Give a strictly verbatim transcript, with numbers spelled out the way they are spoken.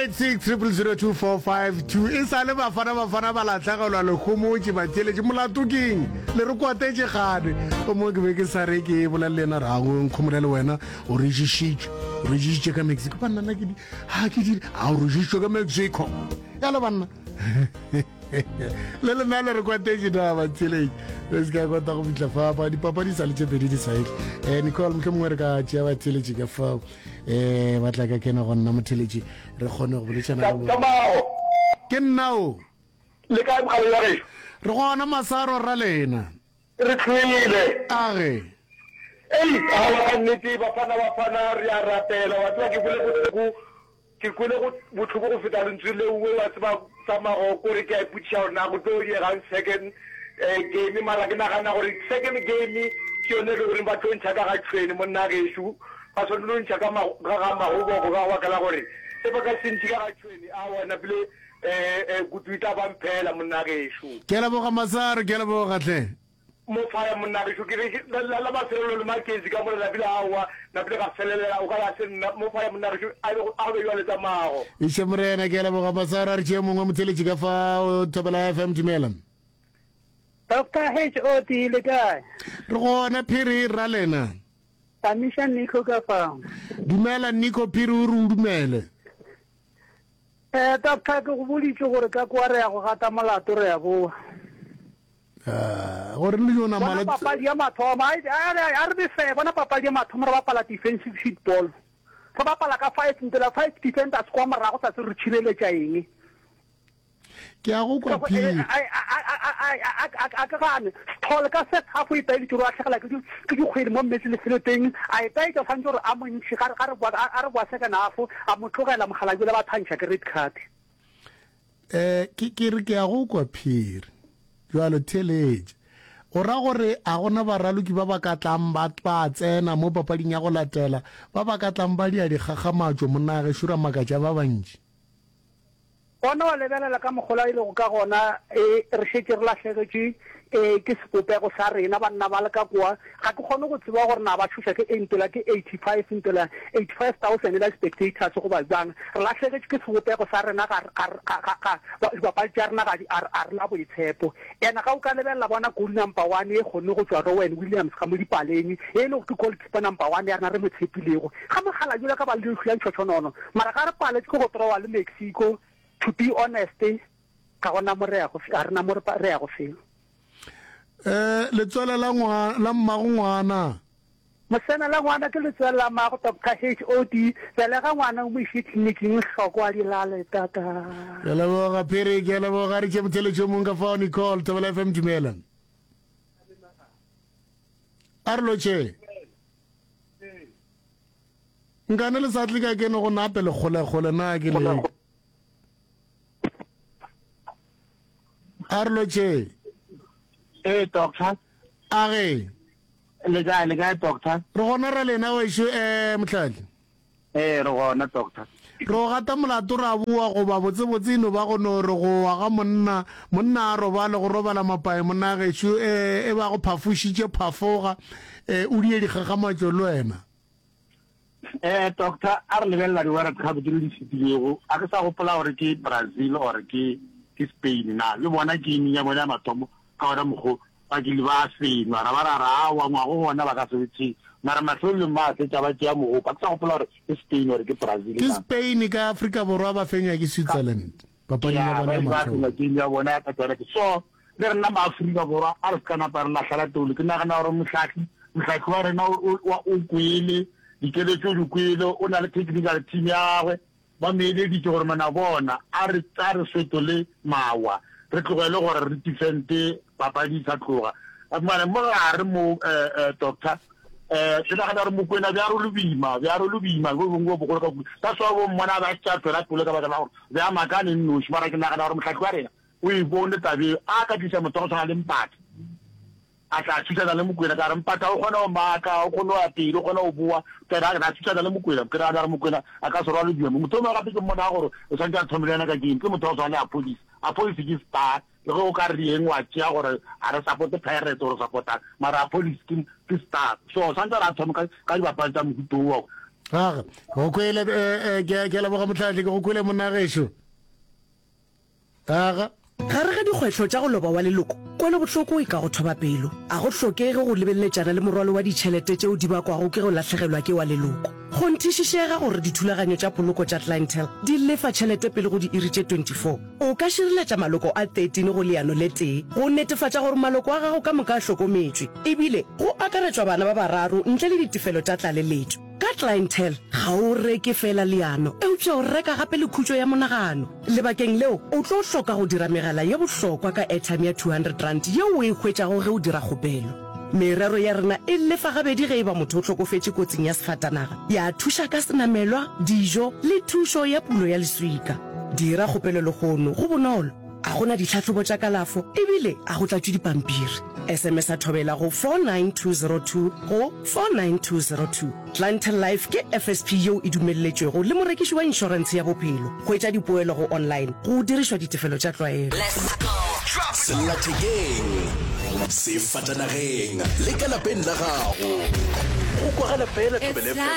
eight six triple zero two four five two e sa le bafana bafana ba latlhegelwa lehomotše batheeletši molato keng le re kwatetše gane o mongwe ke be ke sa re ke bolele le yena re ago nkgomole le wena o re ješitšwe o re ješitše ka mexico banna nna ke di ga ke di a o re ješitšwe ka mexico yalo banna le lena le re kwatetše na batheeletši re se ka kwata go fitlha fa ba dipapadi sa le tše pedi di sa etle um nicole motlho mongwe re ka tšea batheeletši ka fao um ba tla ka kena go nna motheeletši re kgone go boletšana le bona. Tsamao. Ke nna o. Le kae mogala wa gešo? Re gona masaro ra lena. Re tlhoile. Age. Ei, aowa ka nnete Bafana Bafana re a rapela wa tseba ke kwele bohloko ke kwele go bohloko go feta lentswe leo wa tseba sa mago kore ke a ipotšiša gore na go tlo diegang second eh, game mara ke nagana gore second game ke yone e le goreng ba tlo ntšha ka ga tšhwene monna gešo ba swanetše go ntšha ka ka ga magoboko ka baka la gore ge ba ka se ntšhe ka ga tšhwene aowa napile eh, eh, kutu e tla ba mphela monna gešo. Ke a leboga Masaro, ke a leboga hle. Mo faya monna gešo ke re la, la, la mafelelo le Mackenzie ka mola napile aowa napile ga felelela o ka re a se nna mo faya monna gešo a be a go be jwale tsamago. Iše Morena, ke a leboga Masaro. A re tšee mongwe motheeletši ka fao Thobela F M, dumela. Doctor H O D le kae? Re gona Phiri ra lena. Tamiša Nico ka fao. Dumela Nico Phiri o re o dumele. Eh doctor ke go boditše gore ka kwa re ya go gata molato re ya boa. Ah, gore le yona Bona mala papadi ya mathomo a a re be fair bona papadi ya mathomo re bapala defensive football. Re bapala ka five ntela five defenders kwa morago sa se re tšhireletša eng. Ke a go kwa Phiri. A ke gane Sithole ka first half o itaeditše gore o lahlegela ke ke dikgwedi mo Mmetse Lefeloteng a itaetša o swanetše gore a mo ntšhe ga re boa a re boa second half a mo tlogela mokgalabje ba thantšha ke red card. Eh ke ke re ke a go kwa Phiri. Jwalo theeletša. O ra gore a gona baraloki ba ba ka tlang ba ba tsena mo papading ya go latela ba ba ka tlang ba dia dikgakgamatšo monna gešo ra makatša ba bantši. Gona wa lebelela ka mokgola e lego ka gona, e, re šetše re lahlegetšwe e, ke sebopego sa rena, banna ba le ka kwa. Ga ke kgone go tseba gore na ba tšhoša ke eng, ntela ke eighty-five, ntela eighty-five thousand la spectators goba bjang. Re lahlegetšwe ke sebopego sa rena, ga, ga, ga, ga, ga, dibapadi tša rena ga di, a, a re na boitshepo. Ena ga o ka lebelela bona goal number one e kgonne go tšwa Rowan Williams ga mo dipaleng, e le gore ke goalkeeper number one ya rena re mo tshepilego. Ga mogala yola ka ba le leihlo la ntšhotšhonono, mara ga re paletše ke go drawa le Mexico. To be honest, ga gona mo re yago, ga re na mo re yago felo. Eh, letswele la ngwana, la mmago ngwana. Mosena la ngwana ke letswele la mmago, Doctor H O D. Belega ngwana o mo iše tleliniking, hloko a di lale, tata. Ke a leboga, Phiri, ke a leboga. Re tšee motheeletši yo mongwe ka fao, Nicole, Thobela F M, dumela. A re lotšhe. Nkane le sa tle ka kene go nape le kgolekgole na ke le. A re lotšhe. Ee, doctor. A ge. Le kae, le kae, doctor? Re gona ra lena wešo, eh, Mohlahli. Ee, re gona, doctor. Re o gata molato ra boa goba botsebotse e no ba go no re go wa ga monna, monna a robale go robala mapae monna gešo, eh, e ba go phafošitše phafoga, eh, o die dikgakgamatšo le wena. Eh, doctor, a re lebelela di-World Cup tše di fetilego, a ke sa gopola gore ke Brazil or ke ke Spain na, le bona game ya bona ya mathomo ka ona mokgo ba kile ba fenywa, ra ba ra re aowa ngwago gona ba ka se o tšee, mara mafelelong ba fetša ba tšea mogopo, a ke sa gopola gore ke Spain or ke Brazil Ke na. Spain ka Afrika Borwa ba fenywa ke Switzerland papading ya Ya, bona ba ya ile ba mathomo. fenywa game ya bona ka tsona. So le rena maAfrika Borwa a re se ka napa re lahlela toulo, ke nagana gore mohlahli mohlahli wa rena o, o, o kwele dikeletšo, o di kwele, o na le technical team ya gagwe, ba mo eleditše gore mona bona a re a re fetole mawa, re tlogele gore re defende papadi e sa tloga. Mara mo gare mo eh, eh, doctor eh, ke nagana gore Mokwena bja re lo boima, bja re lo boima bo bongwe bo bogolo ka kudu. That's why bo mmona ba tša tswela pele ka baka la gore bja makane nnoši, mara ke nagana gore mohlahli wa rena o e bone taba eo, a ka tliša motho wa go tshwana le Mpatha, a tla thušana le Mokwena, ka re Mpatha o kgona go maka, o kgone go ya pele, o kgona go boa, tsena a thušana le Mokwena, ke nagana gore Mokwena a ka se rwale boima. Motho o mongwe gape ke mmona gore o swanetše a thome le yena ka game, ke motho wa go tshwana le Appollis. Appollis ke star, le ge o ka re eng wa tšea gore a re supporte Pirates or supportang, mara Appollis ke, ke star. So swanetše gore a thome ka, ka dibapadi tša mohuta wo. Aga, go kwele eh, eh, ke ke a leboga motlhatlhi ke go kwele monna gešo. Aga. Gare ga dikgwetlho tša go loba wa leloko, kwelobohloko e ka go thoba pelo. A go hlokege go lebeletšana le morwalo wa ditšhelete tšeo di bakwago ke go lahlegelwa ke wa leloko. Kgonthišišega gore dithulaganyo tša poloko tša Clientele di lefa tšhelete pele go diiri tše twenty four. O ka šireletša maloko a thirteen go leano le tee go netefatša gore maloko a gago ka moka a hlokometšwe, ebile go akaretšwa bana ba bararo ntle le ditefelo tša tlaleletšo. Ka Clientele, ga o reke feela leano, eupša o reka gape le khutšo ya monagano. Lebakeng leo, o tlo hloka go dira megala ye bohlokwa ka airtime ya two hundred rand yeo o e hwetšago ge o dira kgopelo. Merero ya rena e lefa gabedi ge e ba motho o hlokofetše kotsing ya sefatanaga, ya thuša ka senamelwa, dijo le thušo ya pulo ya leswika. Dira kgopelo lehono, go bonolo, a go na ditlhahlobo tša kalafo ebile a go tlatšwe dipampiri. S M S a Thobela go four nine two zero two go four nine two zero two. Clientele Life ke F S P yeo e dumelletšwego le morekiši wa inšorentshe ya bophelo. Hwetša dipoelo go online go dirišwa ditefelo tša tlwaelo. Sellathekeng, sefatanageng le ka lapeng la gago. Go kwagala fela Thobela F M.